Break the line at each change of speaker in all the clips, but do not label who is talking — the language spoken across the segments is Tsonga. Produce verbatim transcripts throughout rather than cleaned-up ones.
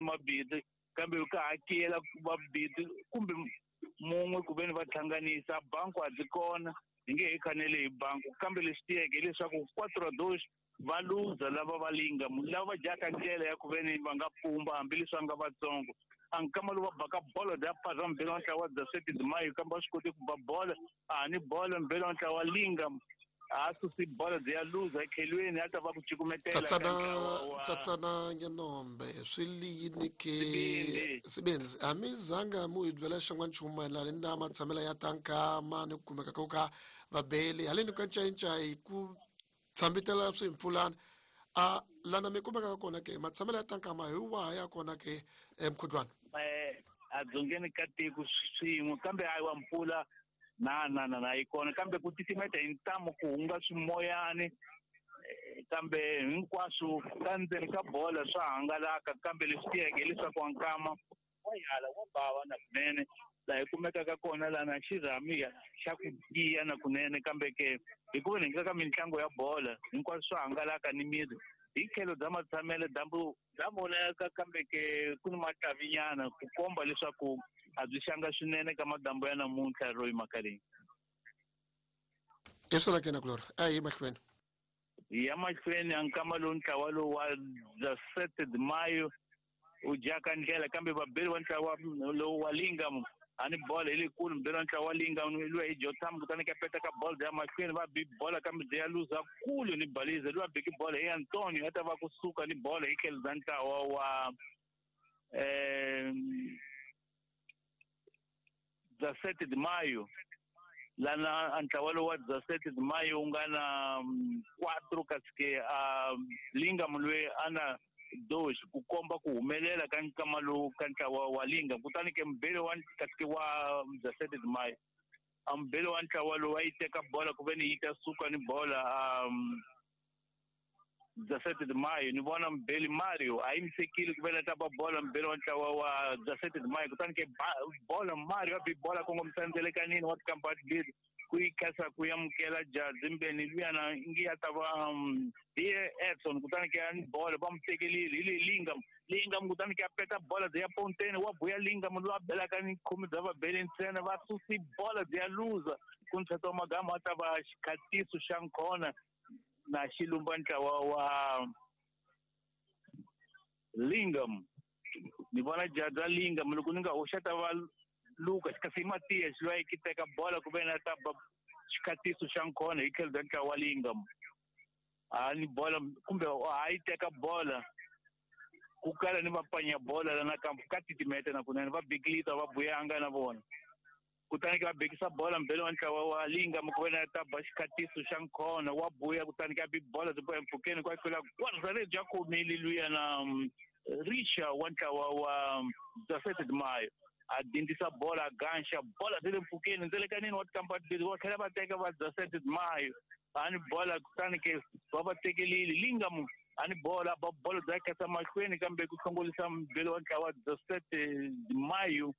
mabindzu kambe ka hakela mabindzu kumbe mun'we ku veni va hlanganisa banku a byi kona hi nge he khanele hi banku kambe leswi tiyeke hileswaku quatro dos va luza lava va linga lava va dyaka ndlela ya ku veni va nga pumba hambileswi va nga vatsongo a nkama lowu va baka bolo bya phaza mbhelo wa ntlawa wa Dzaseti Dimayo kambe va swi koti ku ba bolo a ni bolo mbhelo wa ntlawa wa linga a susi bolo byi ya luza ekhelweni a ta va ku cukumetela
tsatsana tsatsana ngenombe swi liyini ke sibindzi a mi zanga mu hi byela xin'wana nchumu mayelana ni na matshamelo ya tankama ni ku kumeka ko ka vabeli haleni ka ncayincayi ku tshambitela swimpfulana a lana mi kumekaka kona ke matshamelo ya tankama hi waha ya kona ke emkhudlwana
eh a dzongeni ka tiko swin'we kambe hayi wa mpfula na na na na yi kona kambe ku titimeta hi ntamu ku hunga swimoyani kambe hinkwaswo ka ndzeni ka bola swa hangalaka kambe leswi tiyeke hileswaku wa nkama wa yala wa bava na kunene laha hi kumekaka kona lana xirhami xa ku tiya na kunene kambe ke hikuva ni ka mitlangu ya bola hinkwaswo swa hangalaka ni miri hi tlhelo bya matshamelo dyambu bya vonaka kambe ke ku ni matlavinyana ku komba leswaku a byi xanga swinene ka madambu ya namuntlha ro yimaka leyi
hi swona ke na kulora a hi mahlweni
hi ya mahlweni a nkama lowu ntlawa lowu wa Dzasete Dimayo u dyaka ndlela kambe vabeli wa ntlawa lowu wa Lingam a ni bola hi lekulu mbeli wa ntlawa wa Lingam luya hi Jotham kutani ka peta ka bola bya mahlweni va bi bola kambe byi ya luza kulu ni baliza luya beki bola hi Antonio a ta va kusuka ni bola hi tlhelo bya ntlawa wa um Dzasete Dimayo lana ntlawa lowu wa Dzasete Dimayo wu nga na quatro kasi ke a Lingam loyi a na dos ku komba ku humelela ka nkama lowu ka ntlawa wa Lingam kutani ke mbhele wa kasi ke wa Dzasete Dimayo a mbhele wa ntlawa lowu a yi teka bola ku ve ni yi ta suka ni bola um Dzasete Dimayo ni vona mbheli Mario a yimisekile ku vela ta ba bola mbhele wa ntlawa wa Dzasete Dimayo kutani ke bola Mario a bi bola kongomisa ndzelekanini wa tikampani leti ku yi khasa ku amukela jazi mbeni luyana ngi ya ta va hi Edson kutani ke ni bola va mu tekelile hi le Lingam Lingam kutani ke a peta bola byi ya ponteni wa buya Lingam loyi a belaka ni khume bya vabeli ntsena va susi bola byi ya luza ku ntshata wa magama a ta va xikhatiso xa nkhona na xilumba ntlawa wa Lingam ni vona jaza Lingam loko ni nga hoxa ta va Lucas kasi Matias loyi ki teka bola ku ve na ta ba xikhatiso xa nkhona hi tlhelo bya ntlawa wa Lingam a ni bola kumbe a yi teka bola ku kala ni va panya bola lana ka ka titimeta na kunene va bikilita va buyanga na vona kutani ke va bekisa bola mbhele wa ntlawa wa Lingam ku ve na ta ba xikhatiso xa nkhona wa buya kutani ke a bi bola byi boya mpfhukeni kwa tlula gwarzale bya khomile luya na Richa wa ntlawa wa Dzasete Dimayo a dindisa bola a ganxa bola byi le mpfhukeni ndzelekanini wa tikampani leti va tlhela va teka va Dzasete Dimayo a ni bola kutani ke va va tekelile Lingam a ni bola ba bola bya khasa mahlweni kambe ku hlongolisa mbhele wa ntlawa wa Dzasete Dimayo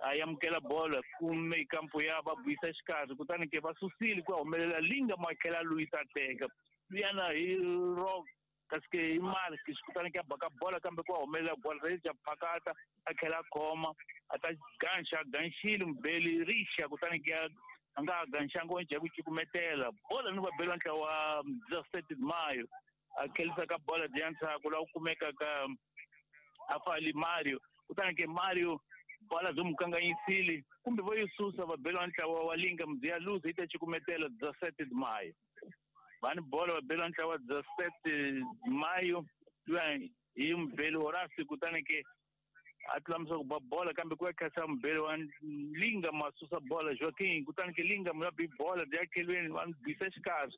a amukela bola kume kampo ya va buyisa xikarhi kutani ke va susile ku humelela Lingam a tlhela luyisa teka luyana hi rock kasi ke hi Mark kutani ke a baka bola kambe ku humelela bola ri ja phakata a tlhela a khoma a ta ganxa ganxile mbheli Rixa kutani ke a nga ganxanga o njhe ku cukumetela bola ni va bela ntlawa wa Dzasete Dimayo a tlhelisa ka bola bya ndzhaku laha ku kumeka ka afali Mario kutani ke Mario bola byi mu kanganyisile kumbe vo yi susa va bela ntlawa wa Lingam byi ya luza yi ta cukumetela Dzasete Dimayo va ni bola va bela ntlawa Dzasete Dimayo luya hi mbheli Horace kutani ke a tlulamisa ku ba bola kambe ku ya khasa mbheli wa Lingam a susa bola Joaquin kutani ke Lingam ya bi bola byi ya khelweni va bisa xikarhi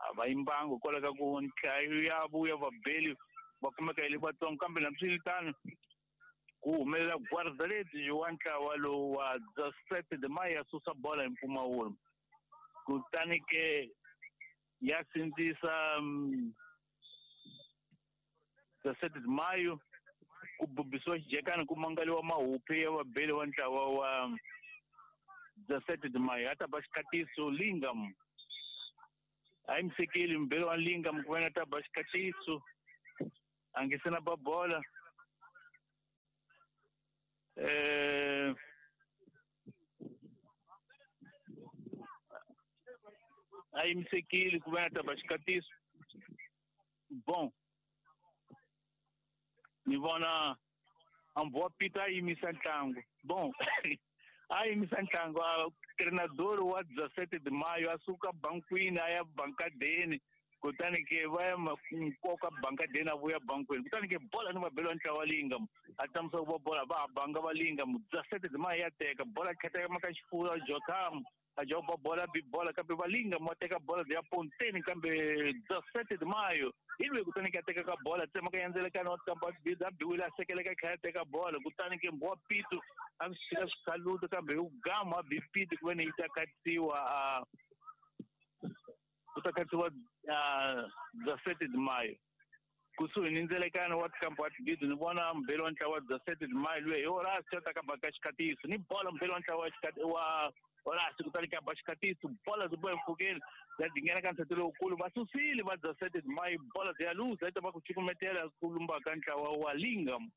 a va yimbango kwala ka ku nhlayo ya vuya vabeli va kumeka hi le vatsongo kambe nambiswiritano ku humelela Gwarzaleti wa ntlawa lowu wa Dzasete Dimayo ya susa bola hi mpfumawulo kutani ke ya sindzisa Dzasete Dimayo ku bubisiwa xijekani ku mangaliwa mahuphi ya vabeli wa ntlawa wa Dzasete Dimayo a ta ba xikhatiso Lingam a yi misekeli mbhele wa Lingam ku va na ta ba xikhatiso a nge se na ba bola eh a yimisekile ku va na ta ba xikatiso. Bon, ni vona ambua pita a yimisa ntlangu. Bon, a yimisa ntlangu a treinador wa dezessete de maio a suka bankwini a ya bankadeni, kutani ke va ya nkoka bankadeni a vuya bankwini, kutani ke bola ni mabelo ntlawa Lingam a tsamisa ku va bola va banga va Lingam. Dezessete de maio ya teka bola kheteka maka xifuwa Jotham a joba bola bi bola kambe va Lingam wa teka bola ya ponteni kambe dezessete de maio ilwe kutani ke teka ka bola tsema ka yendzelekana wa kamba bida biwila sekeleka kha teka bola kutani ke mbwa pitu a swi swikaluta kambe u gama bi pitu ku veni yi ta katiwa a ku ta katiwa dezessete de maio kusuhi ni ndzelekano wa kampa wa bida ni vona mbelo wa ntlawa dezessete de maio lwe hi Horácio ta kamba ka xikatiso ni bola mbelo wa ntlawa wa Horácio kutani ka ba xikatiso bola byi boha mpfhukeni ya dingena ka nsati lowukulu va susile va dezessete de maio bola ya luza yi ta va ku cukumetela ku lumba ka ntlawa wa Lingam.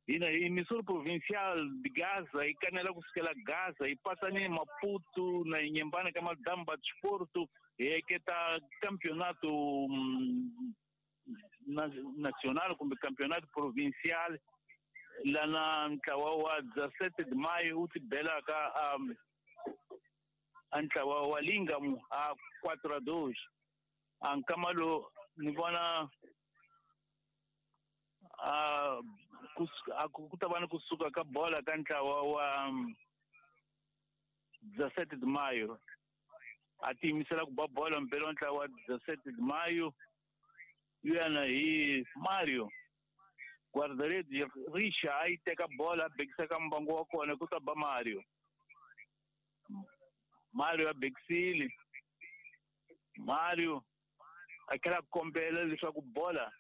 Hina hi emissora provincial de Gaza yi kanela ku sukela Gaza yi patsa ni Maputo na Inhambane ka Madamba Desporto hi eketa campeonato nacional kumbe campeonato provincial lana ntlawa wa dezessete de maio wu ti belaka um, ntlawa wa Lingam a quatro a dois. A nkama lowu ni vona a ku ta va ni kusuka ka bola ka ntlawa wa dezessete de maio a tiyimisela ku ba bola mbelo wa ntlawa wa dezessete de maio yena hi Mario guarda-redes Richa a yi teka bola a bekisa ka mbangu wa kona ku ta ba Mario. Mario a bekisile Mario a tlhela a kombela leswaku bola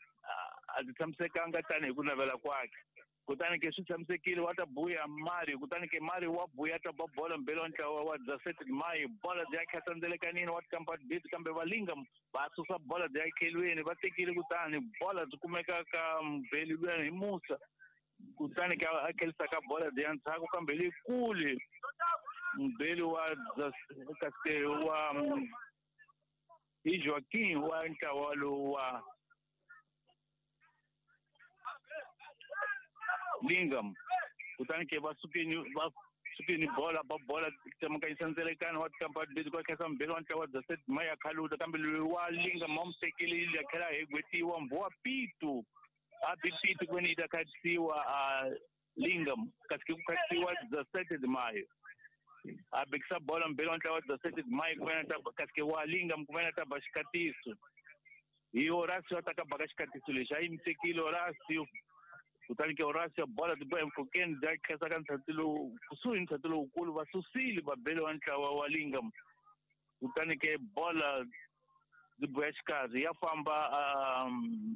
a ti tshamisekanga tanihi ku navela kwakhe, kutani ke swi tshamisekile wa ta buya Mario, kutani ke Mario wa buya ta ba bola mbelo wa ntlawa wa dezessete de maio bola bya khatsa ndzelekanini wa tikampa bit kambe va Lingam va susa bola bya khelweni va tekile kutani bola byi kumeka ka mbeli luyani hi Musa, kutani ke a khelisa ka bola bya ndzhaku kambe leyikulu mbeli wa kasi wa hi Joaquim wa ntlawa lowu wa Lingam, kutani ke va sukeni va sukeni bola ba bola tsemakanyisa ndzelekano wa tikampa leti kwa khensa mbeli wa ntlawa dezessete de maio ya khaluta kambe loyi wa Lingam wa mu tekele ya tlhela a hegwetiwa mbhuwa pitu a bi pitu ku veni yi ta khatisiwa a Lingam kasi ke ku khatisiwa dezessete de maio a bekisa bola mbeli wa ntlawa dezessete de maio ku veni ta kasi ke wa Lingam ku veni ta ba xikatiso hi Horácio a ta ka baka xikatiso lexi a yimisekile Horácio, kutani ke Horácio bola ti boha empfhukeni bya khensa ka ntlhati lowu kusuhi ni ntlhati lowukulu va susile va bele wa ntlawa wa Lingam, kutani ke bola byi boha xikarhi ya famba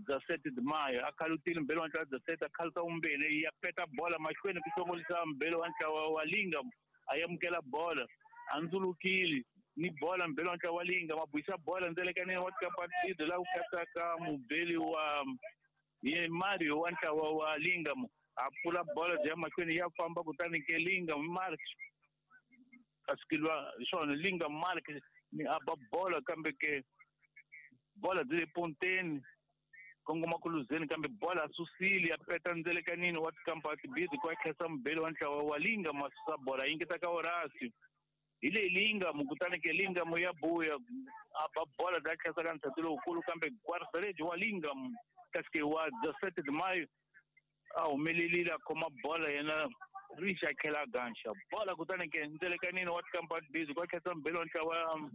dezessete de maio a khalutile mbele wa ntlawa dezessete a khaluta vumbirhi ya peta bola mahlweni ku hlongolisa mbele wa ntlawa wa Lingam a amukela bola a ndzulukile ni bola mbele wa ntlawa wa Lingam a buyisa bola ndzelekanini wa tikapatido laha ku katsaka mubeli wa ye Mario wa ntlawa wa Lingam a pfula bola bya mahlweni ya famba kutani ke Lingam Mark asikilwa swona Lingam Mark ni a ba bola kambe ke bola byi le ponteni kongoma ku luzeni kambe bola a susile a peta ndzelekanini wa tikampa tibidi kwa khensa mubeli wa ntlawa wa Lingam a susa bola yingeta ka Horácio hi leyi Lingam kutani ke Lingam ya buya a ba bola bya khensa ka ntlhati lowukulu kambe guarda-redes wa Lingam kasi ke wa dezessete de maio a humelerile a khoma bola yena Richa a tlhela a ganxa bola kutani ke ndzelekanini wa tikampa tibidi kwa khensa mubeli wa ntlawa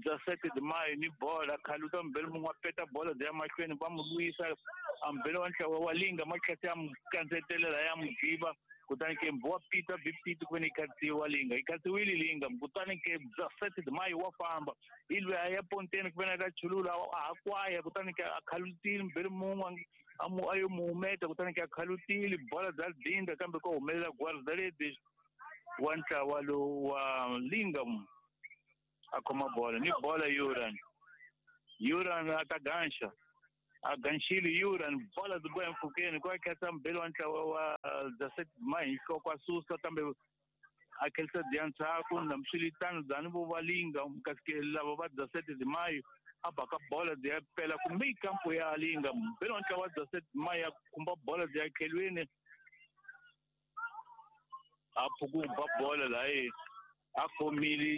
dezessete de maio ni bola khaluta mbeli mun'we a peta bola bya mahlweni va mu lwisa a mbeli wa ntlawa wa Lingam a tlhela ya mu kandzetelela ya mu jiva kutani ke mbhuwa pita bi pitu ku veni yi khatsiwa Lingam yi khatsiwile Lingam kutani ke dezessete de maio wa famba hi lweyi a ya ponteni ku veni a ta chulula a ha kwaya kutani ke a khalutile mbeli mun'we a mu a yo mu humeta kutani ke a khalutile bola bya dinda kambe ko humelela guarda-redes wa ntlawa lowu wa Lingam a khoma bola ni bola Yuran Yuran a ta ganxa A ganxile Yuran bola byi boya mpfhukeni ku a khetsa mbeli wa ntlawa wa Zaseti Mahi nhloko a susa kambe a khelisa bya ndzhaku na swiritano byani vo valinga kasi ke lava va Zaseti Mahi a baka bola byi ya pela kumbe kampo ya linga mbeli wa ntlawa wa Zaseti Mahi ya khumba bola byi ya khelweni a phuku ba bola layi a khomile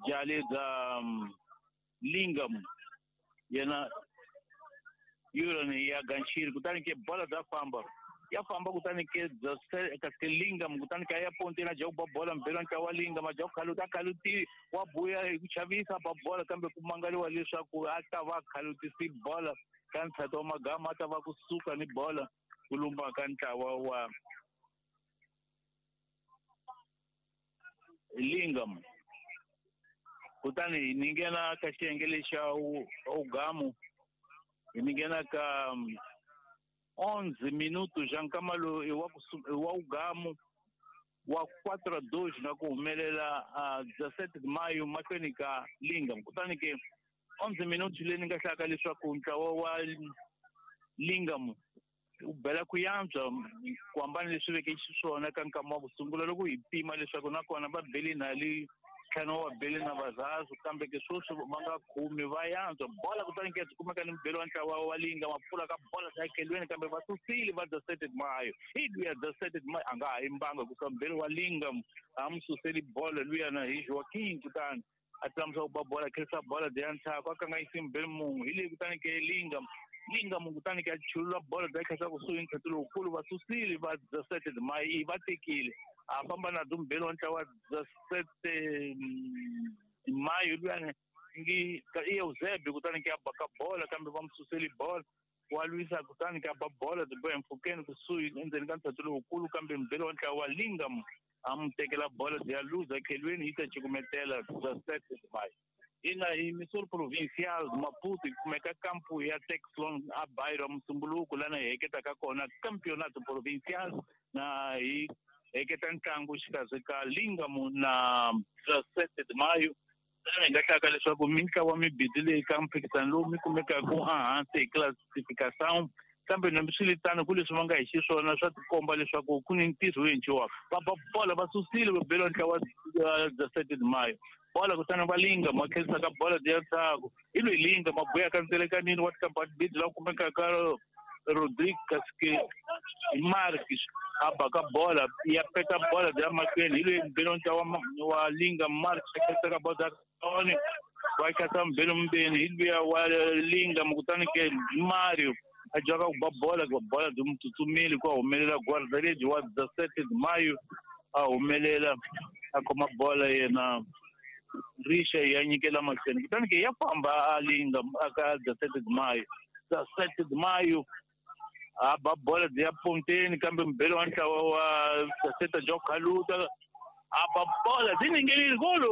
jale bya lingam yena Yuran ya ganxile kutani ke bola bya famba ya famba kutani ke kasi lingam kutani ka ya ponteni a dya ku ba bola mbeli wa ntlawa wa lingam a dya ku khaluta a khaluti wa buya hi ku chavisa ba bola kambe ku mangaliwa leswaku a ta va khalutisi bola ka ntshato wa magama a ta va kusuka ni bola ku lumba ka ntlawa wa lingam. Kutani ni nghena ka xiyenge lexa ugamu ni nghena ka onze minutos já nkama lowu i wa wa ugamu wa quatro a dois na ku humelela a dezessete de maio mahlweni ka lingam. Kutani ke onze minutos leyi ni nga hlaka leswaku ntlawa wa lingam u bela ku yantswa ku hambana leswi veke xiswona ka nkama wa ku sungula loko hi pima leswaku nakona va bele na li ntlhanu wa bele na vazazu kambe ke sweswi va nga khumi va yantswa bola kutani ke byi kumeka ni mubeli wa ntlawa wa linga ma pfula ka bola ta khelweni kambe va susile va dezessete de maio hi luya dezessete de maio a nga ha yimbanga kusuka mubeli wa linga a mu suseli bola luyana hi Joaquim kutani a tlamusa ku ba bola khelisa bola bya ndzhaku a kanganyisi mubeli mun'we hi leyi kutani ke linga linga munhu kutani ke a chulula bola bya khelisa kusuhi ntlheto lowukulu va susile va dezessete de maio va tekile a famba na byo mubeli wa ntlawa dezessete de maio luyani ngi i Eusébio kutani ke a baka bola kambe va mu suseli bola wa lwisa kutani ke a ba bola byi boya mpfhukeni kusuhi endzeni ka ntshato lowukulu kambe mubeli wa ntlawa wa lingam a mu tekela bola byi ya luza khelweni yi ta cukumetela dezessete de maio. Ina hi Missouri Provincial Maputo yi kumeka kampu ya Texlon a bairro Musumbuluku lana hi heketaka kona Campeonato Provincial na hi heketa ntlangu xikarhi ka Lingam na dezessete de maio. Lana hi nga hlaka leswaku mintlawa mibidi leyi ka mphikizano lowu mi kumekaka ehansi hi classification kambe nambiswiritano ku leswi va nga hi xiswona swa tikomba leswaku ku ni ntirho wo endliwaka va ba bola va susile va bela ntlawa dezessete de maio bola kutani va linga ma khelisa ka bola bya ndzhaku hi loyi linga ma buya ka ndzelekanini wa tikambabidi laha kumekaka Rodrigue kasi Marques a baka bola ya peta bola bya mahlweni hi loyi mbeli wa ntlawa wa linga Marques a khelisa ka bola bya va khatsa mbeli mbeni hi luya wa linga kutani ke Mario a dyaka ku ba bola ku bola byi mu tsutsumile ku a humelela guarda-rede wa dezessete de maio a humelela a khoma bola yena Risha ya nyikela mahlweni kutani ke ya famba a linga aka dezessete de maio dezessete de maio a ba bola byi ya ponteni kambe mubeli wa ntlawa wa dezessete bya khaluta a ba bola byi ningelile golo